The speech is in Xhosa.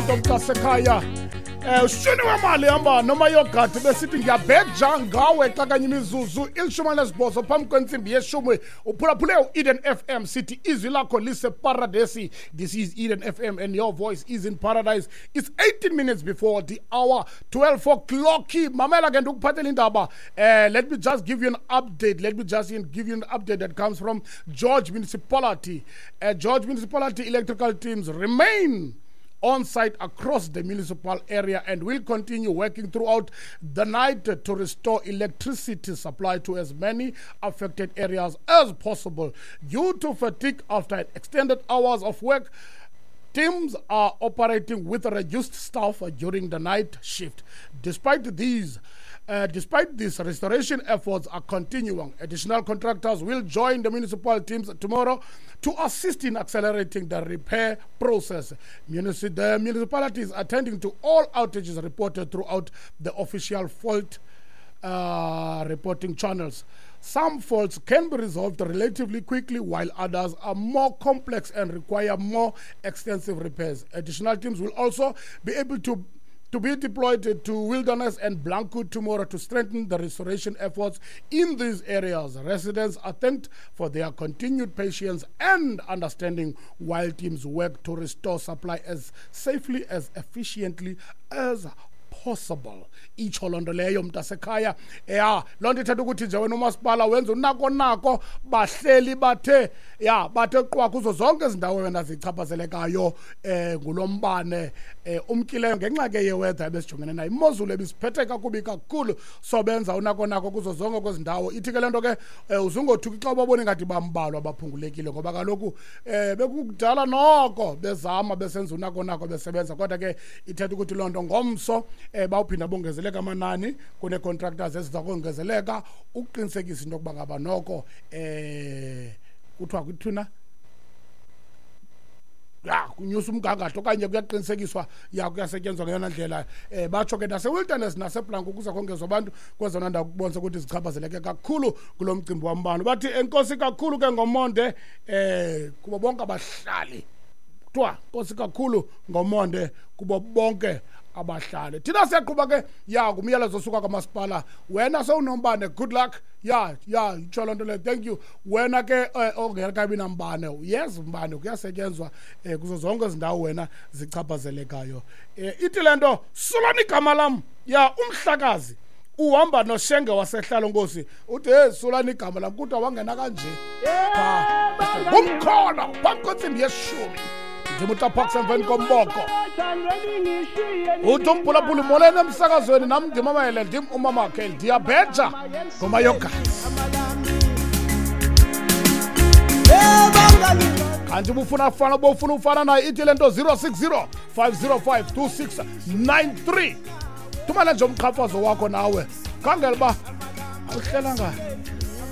nto mntasekhaya. Ushuni wemali hamba noma yogadi besithi ngiyabheja ngawe xa kanye imizuzu 18 phambi kwentsimbi yeshumi. Uphulaphule u-Eden FM, sithi izwi lakho liseparadesi. This is Eden FM and your voice is in paradise. It's 18 minutes before the hour, 12 o'clock. Mamela ke, ndikuphathela indaba. Let me just give you an update. Let me just give you an update that comes from George Municipality. George Municipality electrical teams remain on site across the municipal area and will continue working throughout the night to restore electricity supply to as many affected areas as possible. Due to fatigue after extended hours of work, teams are operating with reduced staff during the night shift. Despite this, restoration efforts are continuing. Additional contractors will join the municipal teams tomorrow to assist in accelerating the repair process. The municipality is attending to all outages reported throughout the official fault reporting channels. Some faults can be resolved relatively quickly, while others are more complex and require more extensive repairs. Additional teams will also be able to be deployed to Wilderness and Blanco tomorrow to strengthen the restoration efforts in these areas. Residents are thanked for their continued patience and understanding while teams work to restore supply as safely as efficiently as possible. Itsho loo nto leyo, mntasekhaya. Ya, loo nto ithetha ukuthi nje wena umasipala wenza unako nako, bahleli bathe ya bathe qwa kuzo zonke ezi ndawo wena zichaphazelekayo ngulo mbane umkileyo ngenxa ke ye-weather ebesijongene nayo, imozulu ebisiphethe kakubi kakhulu. So benza unako nako kuzo zonke kwezi ndawo. Ithi ke le nto ke uzungothuki xa ubabona ingathi bambalwa, baphungulekile, ngoba kaloku bekukudala noko bezama, besenza unako nako, besebenza. Kodwa ke ithetha ukuthi loo nto ngomso bawuphinda bongezeleka amanani, kunee-contractors eziza kongezeleka ukuqinisekisa into yokuba ngaba noko kuthiwa kuthina ya kunyusa umgangatho okanye kuyaqinisekiswa ya kuyasetyenzwa ngeyona ndlela. Batsho ke naseWilderness naseBlanco kuza kongezwa abantu kwezona ndawo kubonisa ukuthi zichaphazeleke kakhulu kulo mcimbi wambane. Bathi enkosi kakhulu ke ngomonde kubo bonke abahlali. Kuthiwa nkosi kakhulu ngomonde kubo bonke abahlali. Thina siyaqhuba ke ya ngumyalezo osuka kwamasipala. Wena sewunombane, good luck. Ya, itsho loo nto leyo. Thank you. Wena ke ongekabi nambane, yes, mbane kuyasetyenzwa kuzo zonke ezi ndawo wena zichaphazelekayo. Ithi le nto sulani igama lam. Ya, umhlakazi uhamba noShenge wasehlalo nkosi uthi, "Hey, sulani igama lam." Kuthiwa wangena kanje phaa ngumkhono phambi kwentsimbi yeshumi. Ndim uTaparks emveni komboko. Uthi umphulaphuli, "Molweni emsakazweni, nam ndimamele, ndim umamakhe, ndiyabheja ngomayogazi." Kanti ubufuna fana, ubufuna ufana naye, ithi le nto 060 505 2693. Thumela nje umqhafazo wakho nawe, khangela uba uhlelanga.